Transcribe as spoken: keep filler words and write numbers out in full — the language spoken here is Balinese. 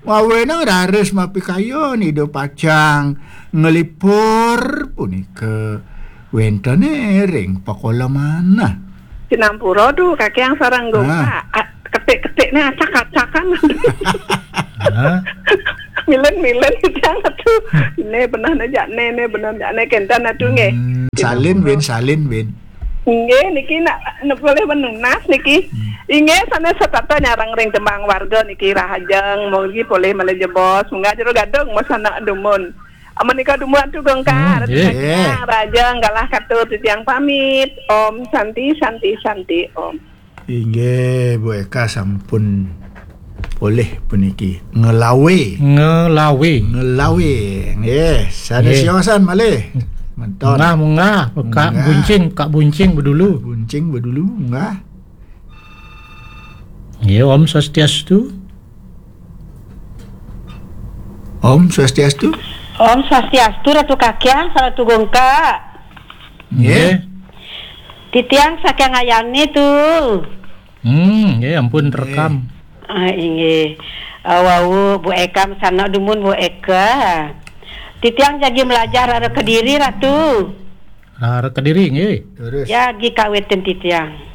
Mawenang raris mapikayun Ida pacang nglipur punika wénten ring pakoleman. Sinampura tu, Kakiang sareng Gungka. Ah. Ah, ketik-ketikné acak-acakan. Hah? Milen-milen Titiang tu. Né benehné jak né, né benehné jak né, kénten atu nggih. Hmm, salin, Win, salin, Win. Inggih, niki nak, nak polih menunas niki. Hmm. Inggih, sané setata nyareng ring tembang warga niki rahajeng, mugi polih malih jebos, munggah jero gadung, mas anak dumun. Menika dumun Atu Gungka, hmm, Ratu, nggih. Kakiang, rahajeng, galah katur titiang pamit. Om Santi, Santi, Santi, Om. Inggih, Bu Eka sampun polih puniki. Ngelawe. Ngelawe. Ngelawe. Nggih, sané, nggih, siosan malih. Menton. Munggah, munggah. Kak, munggah. Buncing, Kak Buncing bedulu. Buncing bedulu, munggah. Nggih, Om Swastiastu. Om Swastiastu. Om Swastiastu, Ratu Kakiang, Ratu Gungka. Nggih. Nggih. Titiang saking Ayani tu. Hmm, nggih, ampun, nggih, rekam. Ah, inggih. Ah, wau, Bu Eka, sanak dumun Bu Eka. Titiang jagi melajah rara Kediri, Ratu. Rara Kediri, nggih. Terus. Jagi kawitin titiang.